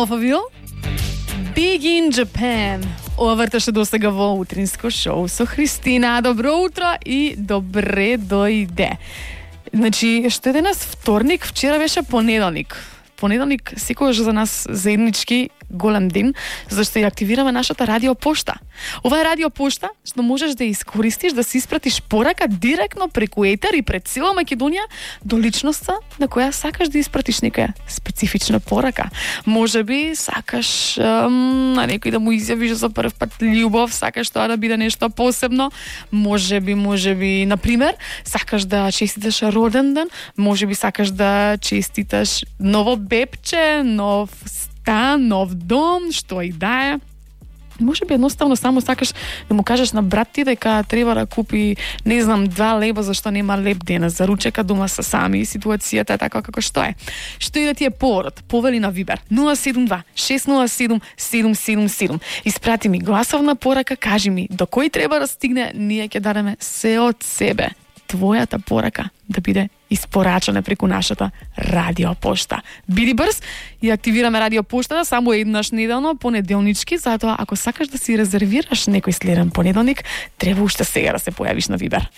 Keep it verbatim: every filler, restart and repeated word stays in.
Alphaville, Big in Japan. Ова врташе досега во утринско шоу со Христина. Добро утро и добре дојде. Значи, што е денес вторник, вчера беше понеделник. Понеделник секогаш за нас заеднички голем ден, зашто ја активираме нашата радиопошта. Ова е радиопошта што можеш да искористиш да си испратиш порака директно преку етер и пред цела Македонија до личноста на која сакаш да испратиш некоја специфична порака. Можеби сакаш ем, на некој да му изјавиш за прв пат љубов, сакаш тоа да биде нешто посебно. Можеби, можеби, на пример, сакаш да честиташ роден ден, можеби сакаш да честиташ ново бебче, нов стан, нов дом, што и да е. Може би едноставно само сакаш да му кажеш на брат ти дека треба да купи, не знам, два леба зашто нема леп денес, за ручека дома са сами, ситуацијата е така како што е. Што и да ти е поводот, повели на Вибер нула седум два шест нула седум седум седум седум. Испрати ми гласовна порака, кажи ми до кој треба да стигне, ние ќе дадеме се од себе. Твојата порака да биде испорачана преку нашата радиопошта. Биди брз и активираме радиопоштата само еднаш неделно, понеделнички, затоа ако сакаш да си резервираш некој следен понеделник, треба уште сега да се појавиш на Вибер.